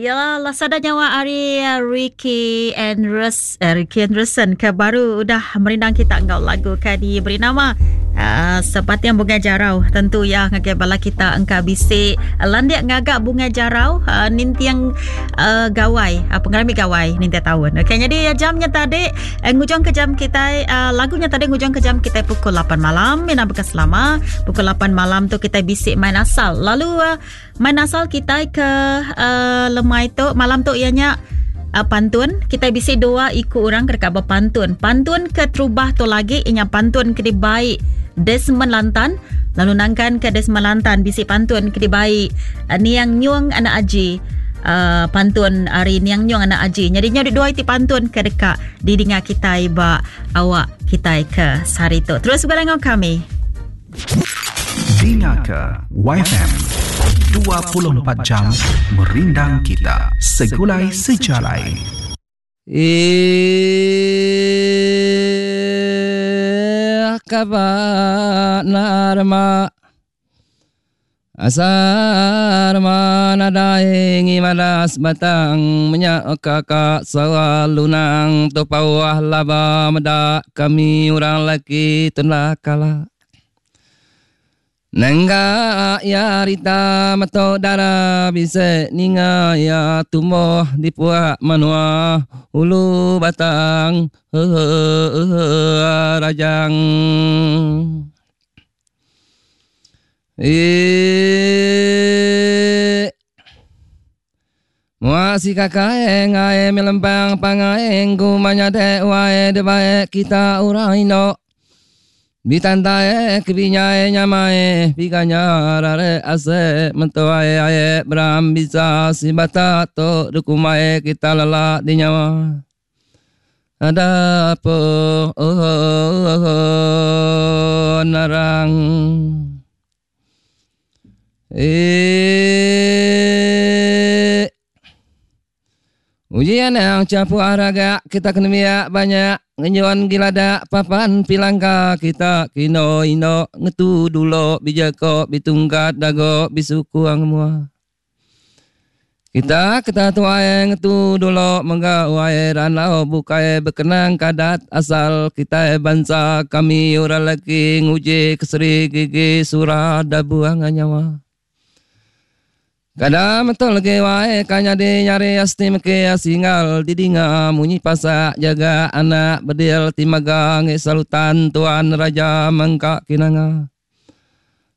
Ya lah sada nyawa ari eh, Ricky Andrews eh, Ricky Anderson ke baru udah merindang kita enggau lagu ke diberi nama uh, Sepatiang Bungai Jarau. Tentu ya ngagai bala kita engka bisi landik ngaga bungai jarau uh, ninting uh, gawai, uh, pengerami gawai ninting taun. Okey, jadi jamnya tadi eh, ngujung ke jam kita uh, lagunya tadi ngujung ke jam kita pukul 8 malam. Mina bekas lama pukul 8 malam tu kita bisi main asal. Lalu uh, Main asal kitai ke uh, lemai tu malam tu iya nya uh, pantun. Kitai bisi dua iku orang ke deka bepantun. Pantun ke terubah tu lagi inya pantun ke dibai Desmond Lantan. Lalu nangkan ke Desmond Lantan bisi pantun ke dibai uh, Niang Nyung anak Aji. Uh, pantun ari Niang Nyung anak Aji. Jadi nya dua iti pantun ke deka didinga kitai ba awak kitai ke sehari tu. Terus begulai enggau kami. Dinga ke YFM 24 jam merindang kita segulai sejalai. Eh kaba narma Asar nadai ngimalas batang menya kakak sawa lunang tu pauh laba meda kami orang laki tunda kala. Nengga iya rita meto dara bisi ninga iya tumbuh di puak menua ulu batang rajang. Eee. Mua si kakae ngae melempang pangae ku manyade wae de bae kita urang indo. Bitantae kebinyae nyamae biganya rare ase mentuae ae beram bisa si bata to dukumae kita lelak di nyawa. Ada apa oh, oh, oh, narang. Eh. Ujian yang capu araga kita kena biak banyak ngenyuan gilada papan pilangka kita kino ino ngetu dulo bijako bitungkat dago bisuku ang mua. Kita keta tuai ngetu dulu mengga wai ranau bukai bekenang kadat asal kita bansa kami orang laki nguji keseri gigi surah dabuang nyawa. Kada betul ke wae kanya di nyari asti meke singal didinga munyi pasak jaga anak bedil timaga ngi salutan tuan raja mangka kinanga.